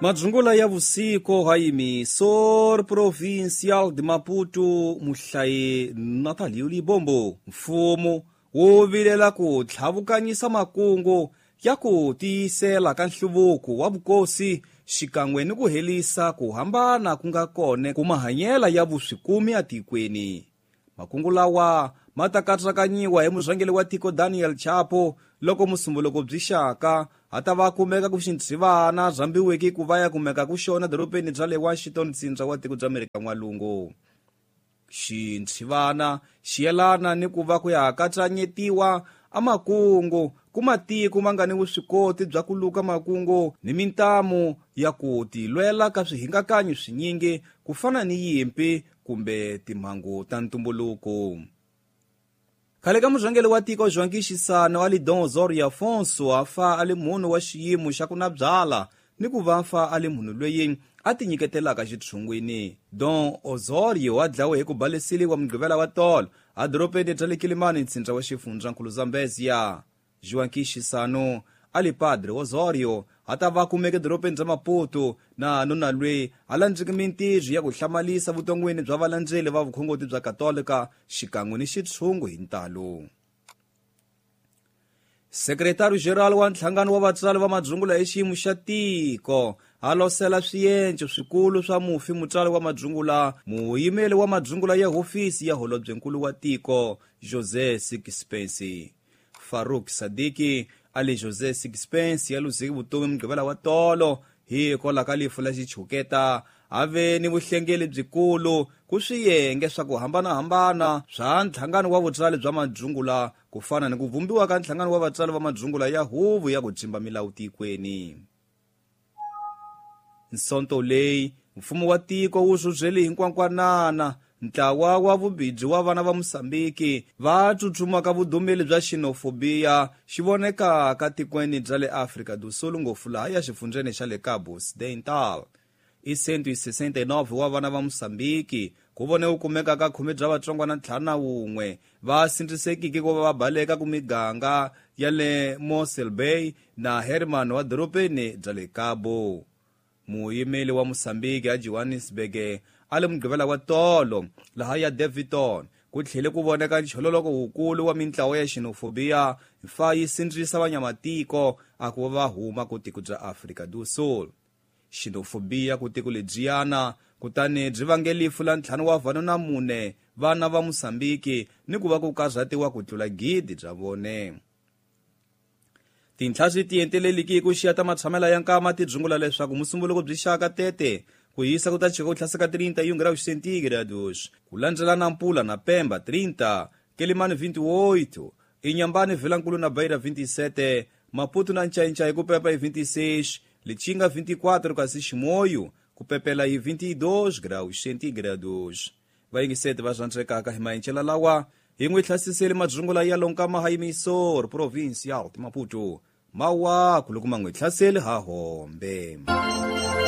Madzungula ya vusiku ha Emissor Provincial de Maputo muhlayi Natalio Libombo. Mfumo wu vilela ku tlhavukanyisa makungu ya ku tiyisela ka nhluvuko wa vukosi xikan'we ni ku helisa ku hambana ku nga kona ku mahanyela ya vuswikumi etikweni. Makungu lawa ma ta katsakanyiwa hi murhangeri wa tiko Daniel Chapo loko musumbuluko byi xaka a ta va kumeka ku xintshivana rhambiweke ku va ya kumeka ku xona dorobeni bya le Washington ntsindza wa tiko bya Amerika N'walungu. Xintshivana xi yelana ni ku va ku ya katsanyetiwa a makungu ku matiko ma nga ni vuswikoti bya ku luka makungu ni mintamu ya ku tilwela ka swihingakanyi swinyingi ku fana ni yimpi kumbe timhangu ta ntumbuluko. Khale ka murhangeri wa tiko Joaquim Chissano a li Dom Osorio Afonso a fa a li munhu wa xiyimo xa ku na byala ni ku va fa a li munhu loyi a tinyiketelaka xitshungwini. Dom Osorio a dlawe hi ku baleseliwa mugqivela wa tolo a dorobeni bya le Kilimani ntsindza wa xifundzankulu Zambezia. Joaquim Chissano a li Padre Osorio a ta va kumeke dorobeni bya Maputo na nuna loyi a landzeke mintirho ya ku hlamalisa vuton'wini bya valandzeli va vukhongoti bya Katolika xikan'we ni xitshungu hi ntalo. Sekretari General wa nhlangano wa vatswari va madzungula hi xiyimo xa tiko a losela swienco swikulu swa mufi mutswari wa madzungula muyimeli wa madzungula ya hofisi ya holobyenkulu wa tiko José Sixpence. Farouk Sadiki a li José Sixpence ya luzeki vutomi mugqivela wa tolo hikwalaho ka lifu la xichuketa a ve ni vuhlengeli byikulu ku swiyenge swa ku hambanahambana swa nhlangano wa vutswari bya madzungula ku fana ni ku vumbiwa ka nhlangano wa vatswari va madzungula ya huvo ya ku tsimba milawu tikweni. Nsonto leyi mfumo wa tiko wu rhurhele hinkwankwanana ntlawa wa vubidzi wa vana va Mosambiki va tsutsumaka vudumeli bya xenofobiya xi vonekaka tikweni bya le Afrika do Sul ngopfu laha ya xifundzeni xa le Cabo Occidental. I 169 wa vana va Mosambiki ku vone wu kumeka ka khume bya vatsongwana 51 va sindzisekiki ku va va baleka ku miganga ya le Mossel Bay na Herman wa dorobeni bya le Cabo. Muyimeli wa Mosambiki a Johannesburg a le mugqivela wa tolo laha ya Daveyton ku tlhele ku voneka nchololoko wukulu wa mintlawa ya xenofobiya fa yi sindzisa vanyamatiko a ku va huma ku tiko bya Afrika do Sul. Xenofobiya ku tiko lebyiyana kutani byi vange lifu la 5 wa vanhu na 4 vana va Mosambiki ni ku va ku karhatiwa ku tlula 1000 bya vone. Tinhla swi tienteleliki ku xiya ta matshamela ya nkama ti dzungula leswaku musumbuluko byi xaka tete ku hisa ku ta chika ku hlaseka 31 graus centígrados ku landzela na Nampula na Pemba 30, Quelimane 28, Inhambane Vilankulu na Beira 27, Maputo na Nchainchai ku pepa hi 26, Lichinga 24 kasi Chimoio ku pepela hi 22 graus centígrados. Vayingiseti va rhandzekaka hi maenchela lawa hi n'wi hlasisele madzungula ya lonkama ha Emissor Provincial de Maputo mawaku loko ma n'wi hlaseli ha hombe.